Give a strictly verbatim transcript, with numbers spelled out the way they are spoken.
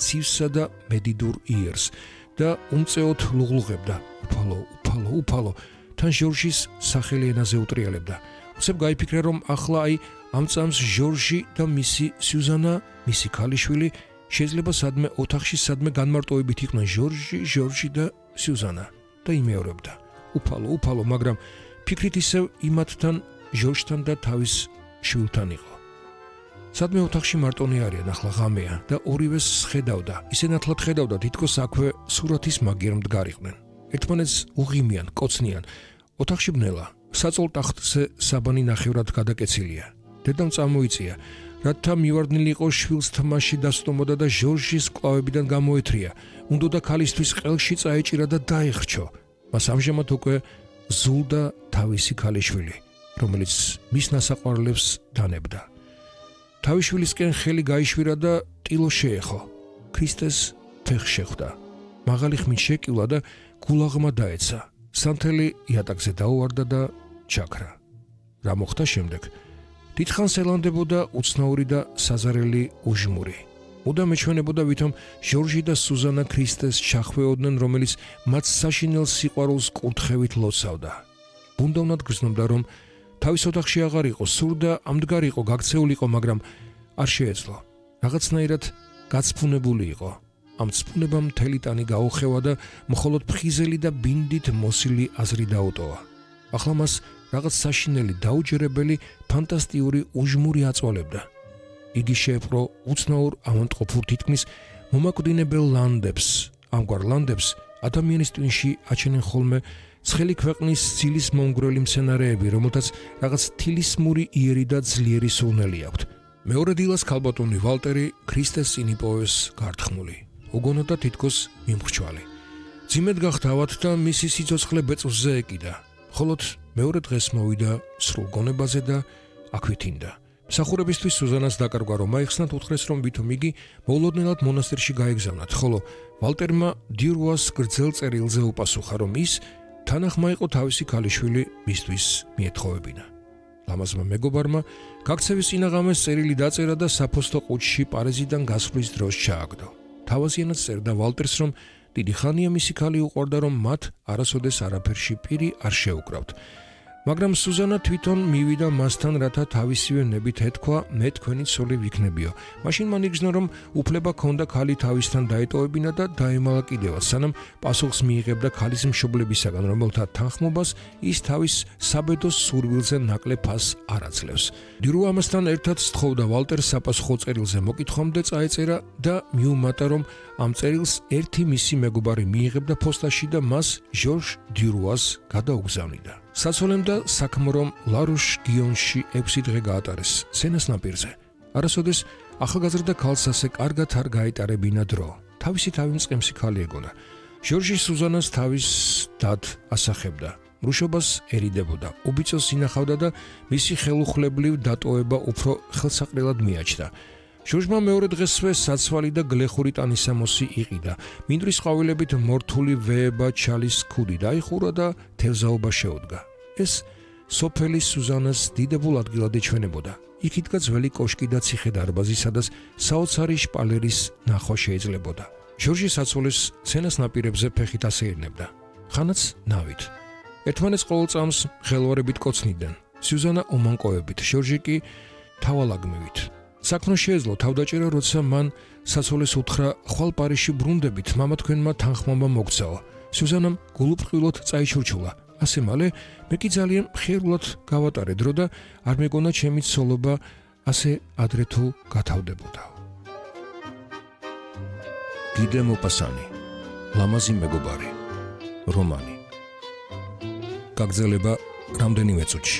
ცივსა და მედიდურ იერს და უმწეოდ ლუღლუღებდა. უფალო, უფალო, უფალო. თან ჟორჟის სახელი ენაზე უტრიალებდა. უცებ გაიფიქრა, რომ ახლა აი ამ წამს ჟორჟი და მისი სიუზანა, მისი ქალიშვილი შეიძლება სადმე ოთახში სადმე განმარტოებით იყვნენ ჟორჟი, ჟორჟი და სიუზანა და იმეორებდა. უფალო, უფალო, მაგრამ ფიქრით ისევ იმათთან, ჟორჟთან და თავის შვილთან იყო. სადმე ოთახში მარტონი არიან, ახლა ღამეა და ორივეს ხედავდა. ისე ნათლად ხედავდა, თითქოს აქვე სურათის მაგიერ მდგარიყვნენ. ერთმანეთს უღიმიან, კოცნიან. ოთახში ბნელა, საწოლ ტახტზე საბანი ნახევრად გადაკეცილია. დედამ წამოიწია, რათა მივარდნილი იყო შვილს თმაში დასტომოდა და ჟორჟის კლავებიდან გამოეთრია. უნდოდა ქალისთვის ყელში წაეჭირა და დაიხრჩო. მას ამჟამად უკვე ზულდა თავისი ქალიშვილი, რომელიც მის ნასაყვარლებს დანებდა. თავის შვილისკენ ხელი გაიშვირა და ტილო შეეხო. ქრისტეს ფეხს შეხვდა. მაღალი ხმით შეკილა და გულაღმა დაეცა. სანთელი იატაკზე დაუვარდა და ჩაქრა. რა მოხდა შემდეგ? დიდხანს ელანდებოდა უცნაური და საზარელი უჟმური. მუდამ ეჩვენებოდა, ვითომ ჟორჟი და სუზანა ქრისტეს ჩახვეოდნენ, რომელიც მათ საშინელ სიყვარულს კურთხევით ლოცავდა. ბუნდოვნად გრძნობდა, რომ თავის ოთახში აღარ იყო, სურდა ამდგარი იყო, გაქცეულიყო, მაგრამ არ შეეძლო. რაღაცნაირად გაცფუნებული იყო. ამ ცფუნებამ მთელი ტანი გაუხევა და მხოლოდ ფხიზელი და ბინდით მოსილი აზრი დაუტოვა. ახლა მას რაღაც საშინელი, დაუჯერებელი, ფანტასტიკური უჟმური აწვალებდა. იგი შეეპყრო უცნაურ ავადმყოფურ თითქმის მომაკვდინებელ ლანდებს. ამგვარ ლანდებს ადამიანის ტვინში აჩენენ ხოლმე ცხელი ქვეყნის ძილის მომგვრელი მცენარეები, რომელთაც რაღაც თილისმური იერი და ძლიერი სურნელი აქვთ. მეორე დილას ქალბატონი ვალტერი ქრისტეს წინ იპოვეს გართხმული. უგონოდა თითქოს მიმხრჩვალი. ძიმედ გახთავად და მისი სიცოცხლე ბეწვზე ეკიდა. მხოლოდ მეორე დღეს მოვიდა სრულ გონებაზე და აქვითინდა. მსახურებისთვის სუზანას დაკარგვა, რომ აიხსნათ, უთხრეს, რომ ვითომ იგი მოულოდნელად მონასტერში გაეგზავნათ, ხოლო ვალტერმა დიურუას გრძელ წერილზე უპასუხა, რომ ის თანახმა იყო თავისი ქალიშვილი მისთვის მიეთხოვებინა. ლამაზმა მეგობარმა გაქცევის წინაღამეს წერილი დაწერა და საფოსტო ყუთში პარიზიდან გასვლის დროს ჩააგდო. თავაზიანად წერდა ვალტერს, რომ დიდი ხანია მისი ქალი უყვარდა, რომ მათ არასოდეს არაფერში პირი არ შეუკრავთ. მაგრამ სუზანა თვითონ მივიდა მასთან, რათა თავისივე ნებით ეთქვა, მე თქვენი ცოლი ვიქნებიო. მაშინ მან იგრძნო, რომ უფლება ჰქონდა ქალი თავისთან დაეტოვებინა და დაემალა კიდევაც, სანამ პასუხს მიიღებდა ქალის მშობლებისაგან, რომელთა თანხმობას ის თავის საბედოს სურვილზე ნაკლებ ფასს არ აძლევს. დიურუ ამასთან ერთად სთხოვდა ვალტერს საპასუხო წერილზე მოკითხვამდე წაეწერა და მიუმატა, რომ ამ წერილს ერთი მისი მეგობარი მიიღებდა ფოსტაში და მას ჟორჟ დიურუას გადაუგზავნიდა. საცოლემ და საქმრომ ლარუშ გიონში ექვსი დღე გაატარეს სენას ნაპირზე. არასოდეს ახალგაზრდა ქალს ასე კარგად არ გაეტარებინა დრო. თავისი თავი მწყემსი ქალი ეგონა. ჟორჟი სუზანას თავის დად ასახებდა. მრუშობას ერიდებოდა, უბიწოს ინახავდა და მისი ხელუხლებლივ დატოვება უფრო ხელსაყრელად მიაჩნდა. ჟორჟმა მეორე დღესვე საცვალი და გლეხური ტანისამოსი იყიდა. მინდვრის ყვავილებით მორთული ვეება ჩალის ქუდი დაიხურა და თევზაობა შეუდგა. ეს სოფელი სუზანას დიდებულ ადგილად ეჩვენებოდა. იქ იდგა ძველი კოშკი და ციხე დარბაზი, სადაც საოცარი შპალერის ნახვა შეიძლებოდა. ჟორჟი საცოლის სცენას ნაპირებზე ფეხით ასეირნებდა. ხანაც ნავით. ერთმანეთს ყოველ წამს ხელვარებით კოცნიდნენ. სუზანა ომანკოებით, ჟორჟი კი თავალაგმივით. საქმრო შეეძლო თავდაჭერა, როცა მან საცოლეს უთხრა, ხვალ პარიზში ბრუნდებით, მამა თქვენმა თანხმობა მოგცაო. სუზანამ გულუბრყვილოდ წაიჩურჩულა. ასე მალე მე კი ძალიან მხიარულად გავატარე დრო და არ მეგონა ჩემი ცოლობა ასე ადრე თუ გათავდებოდა. გიდე მოპასანი, ლამაზი მეგობარი, რომანი. გაგრძელება რამდენიმე წუთში.